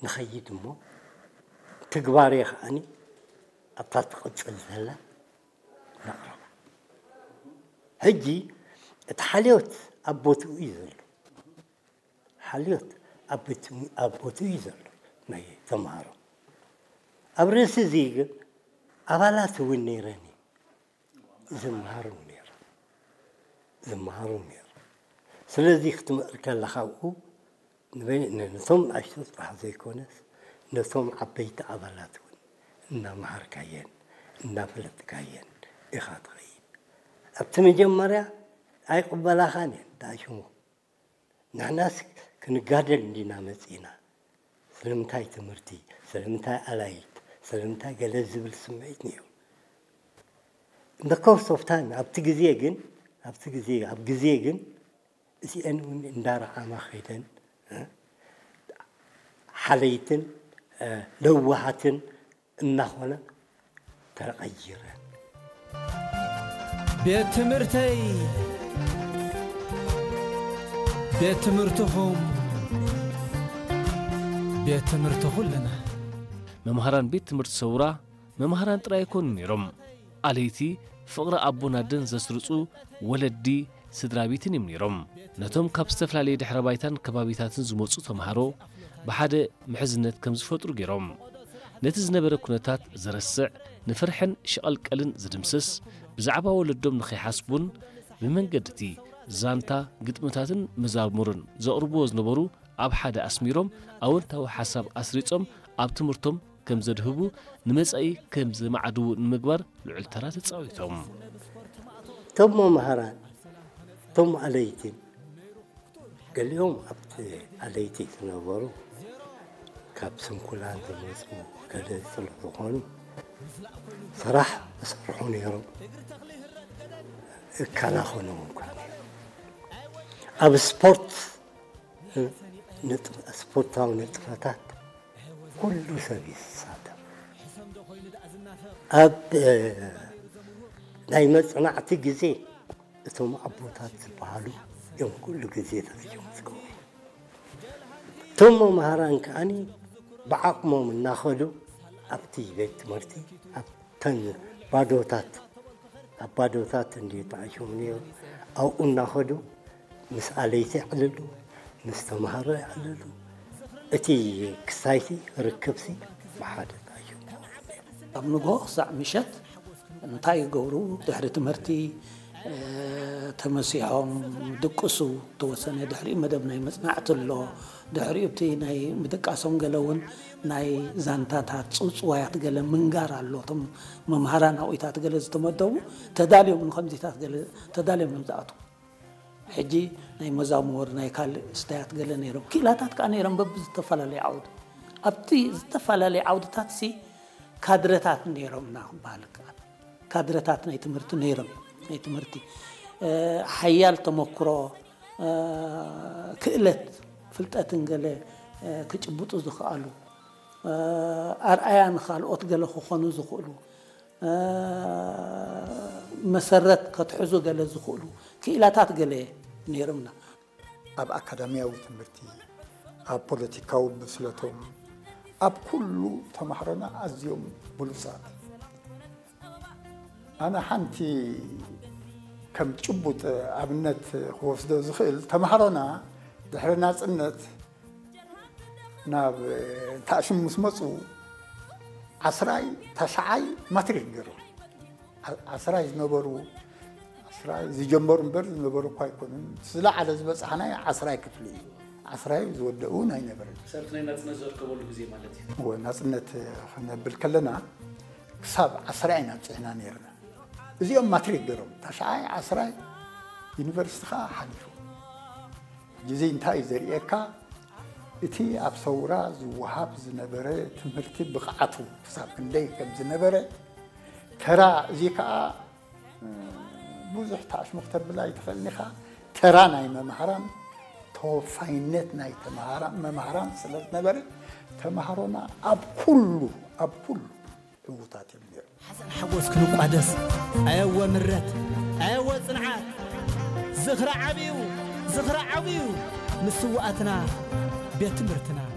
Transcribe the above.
ንኸይድ እሞ፣ ትግባሬ ከዓኒ ኣብታ ትቕጽል ዘላ ነቕርባ። ሕጂ እቲ ሓልዮት ኣብ ቦትኡ እዩ ዘሎ። ሓልዮት ኣብ ቤት-፣ ኣብ ቦትኡ እዩ ዘሎ ናይ ተምሃሮ። ኣብ ርእሲ እዚ ግን ኣባላት እውን ነይረን እዩ። ዝመሃሩ ነይሩ። ዝመሃሩ ነይሩ። ስለዚ ክትምእር ከለኻ ኣብኡ ንበይ-፣ ን-፣ ነቶም ንኣሽቱ ጥራሕ ዘይኮነስ፣ ነቶም ዓበይቲ ኣባላት እውን እናመሃርካየን እናፈለጥካየን ኢኻ ትኸይድ። ኣብቲ መጀመርያ ኣይቕበላኻን እየን፣ ተኣሽሞ። ንሕናስ ክንጋደል እንዲና መጺና። ስለምንታይ ትምህርቲ፣ ስለምንታይ ኣላይት፣ ስለምንታይ ገለ ዝብል ስምዒት ነይሩ። In the course of time፣ ኣብቲ ግዜ ግን፣ ኣብቲ ግዜ፣ ኣብ ግዜ ግን፣ እዚአን እውን እንዳረዓማ ኸይደን፣ እ፣ ሓለይትን፣ እ፣ ለዋሃትን እናኾና ተቐይረን። ቤት ትምህርተይ፣ ቤት ትምህርትኹም፣ ቤት ትምህርቲ ኩልና። መምሃራን ቤት ትምህርቲ ሰውራ መምሃራን ጥራይ ኣይኮኑን ነይሮም። ኣለይቲ ፍቕሪ ኣቦን ኣደን ዘስርጹ ወለዲ፣ ስድራ ቤትን እዮም ነይሮም። ነቶም ካብ ዝተፈላለየ ድሕረ ባይታን ከባቢታትን ዝመጹ ተምሃሮ ብሓደ ምሕዝነት ከም ዝፈጥሩ ገይሮም። ነቲ ዝነበረ ኩነታት ዘረስዕ፣ ንፍርሕን ሽቐልቀልን ዝድምስስ፣ ብዛዕባ ወለዶም ንኸይሓስቡን ብመንገዲ እቲ ዛንታ፣ ግጥምታትን መዛሙርን ዘቕርብዎ ዝነበሩ ኣብ ሓደ ኣስሚሮም፣ ኣወንታዊ ሓሳብ ኣስሪጾም ኣብ ትምህርቶም ከም ዘድህቡ፣ ንመጻኢ ከም ዘማዕድዉ ንምግባር ልዑል ተራ ተጻዊቶም። እቶም መምሃራን፣ እቶም ኣለይትን፣ ገሊኦም ኣብቲ ኣለይቲ ዝነበሩ ካብ ስንኩላን ዝመጹ ገለ ስለ ዝኾኑ፣ ስራሕ ይሰርሑ ነይሮም፣ ይከናኸኑ እንኳ። ኣብ ስፖርት፣ ንጥ-፣ ስፖርታዊ ንጥፈታት ኩሉ ሰብ ይሳተፍ። ኣብ፣ እ፣ ናይ መጽናዕቲ ግዜ እቶም ኣቦታት ዝበሃሉ እዮም ኩሉ ግዜ ደረጃኦም ዝገብሩ። እቶም መምሃራን ከዓኒ ብዓቕሞም እናኸዱ ኣብቲ ቤት ትምህርቲ፣ ኣብተን ባዶታት፣ ኣብ ባዶታት እንድዩ ተዓሽሙ ነይሩ። ኣብኡ እናኸዱ ምስ ኣለይቲ የዕልሉ፣ ምስ ተምሃሮ የዕልሉ። እቲ ክስታይቲ ርክብሲ ብሓደ ተዓሽሙ ነይሩ። ካብ ንግሆ ክሳዕ ምሸት እንታይ ይገብሩ? ድሕሪ ትምህርቲ፣ እ፣ ተመሲሖም ድቅሱ፣ ተወሰነ ድሕሪኡ መደብ ናይ መጽናዕቲ ኣሎ። ድሕሪኡ እቲ ናይ ምድቃሶም ገለ እውን ናይ ዛንታታት፣ ጽውጽዋያት ገለ ምንጋር ኣሎ። እቶም መምሃራን ኣብኡታት ገለ ዝተመደቡ ተዳልዮም ንኸምዚታት ገለ ተዳልዮም እዮም ዝኣትዉ። ሕጂ ናይ መዛሙር፣ ናይ ካልእ ስታያት ገለ ነይሮም። ክኢላታት ከኣ ነይሮም በብዝተፈላለየ ዓውዲ። ኣብቲ ዝተፈላለየ ዓውድታት ሲ ካድረታት ነይሮምና ክበሃል ይከኣል። ካድረታት ናይ ትምህርቲ ነይሮም። ናይ ትምህርቲ፣ እ፣ ሓያል ተመክሮ፣ እ፣ ክእለት፣ ፍልጠትን ገለ፣ እ፣ ክጭብጡ ዝኸኣሉ፣ እ፣ ኣርኣያ ንኻልኦት ገለ ክኾኑ ዝኽእሉ፣ እ፣ መሰረት ከትሕዙ ገለ ዝኽእሉ ክኢላታት ገለ ነይሮምና። ኣብ ኣካዳሚያዊ ትምህርቲ፣ ኣብ ፖለቲካዊ ብስለቶም፣ ኣብ ኩሉ ተማሃሮና ኣዝዮም ብሉጻት። ኣነ ሓንቲ ከም ጭቡጥ ኣብነት ክወስዶ ዝኽእል፣ ተማሃሮና ድሕሪ ናጽነት ናብ ታእሽም ምስ መጹ፣ ዓስራይ፣ ታሽዓይ ማትሪክ ገይሮም። ዓ-፣ ዓስራይ ዝነበሩ፣ ዓስራይ ዝጀመሩ እምበር ዝነበሩ እኳ ኣይኮኑን። ዝለዓለ ዝበጻሕናዮ ዓስራይ ክፍሊ እዩ። ዓስራይ ዝወደኡ ኣይነበረን። ሰልፍ ናይ ናጽነት ዘርከበሉ ግዜ ማለት እዩ። እወ፣ ናጽነት ክነብል ከለና ክሳብ ዓስራይ ኢና ኣብጺሕና ነይርና። እዚኦም ማትሪክ ገይሮም፣ ታሽዓይ፣ ዓስራይ፣ ዩኒቨርሲቲ ኸኣ ሓሊፉ። ሕጂ እዚ እንታይ እዩ ዘርእየካ? እቲ ኣብ ሰውራ ዝወሃብ ዝነበረ ትምህርቲ ብቕዓቱ ክሳብ ክንደይ ከም ዝነበረ፣ ተራ፣ እዚ ከኣ፣ እ፣ ብዙሕ ታሽሙ ክተብል ኣይትኽእልን ኢኻ። ተራ ናይ መምሃራን፣ ተወፋይነት ናይ ተምሃራ-፣ መምሃራን ስለ ዝነበረ፣ ተምሃሮና ኣብ ኩሉ፣ ኣብ ኩሉ ዕዉታት እዮም ነይሮም። ሓዘን ሓጎስ ክንቋደስ፣ ኣየወ ምረት፣ ኣየወ ጽንዓት። ዝኽሪ ዓብዩ፣ ዝኽሪ ዓብዩ፣ ንስውኣትና፣ ቤት ትምህርትና።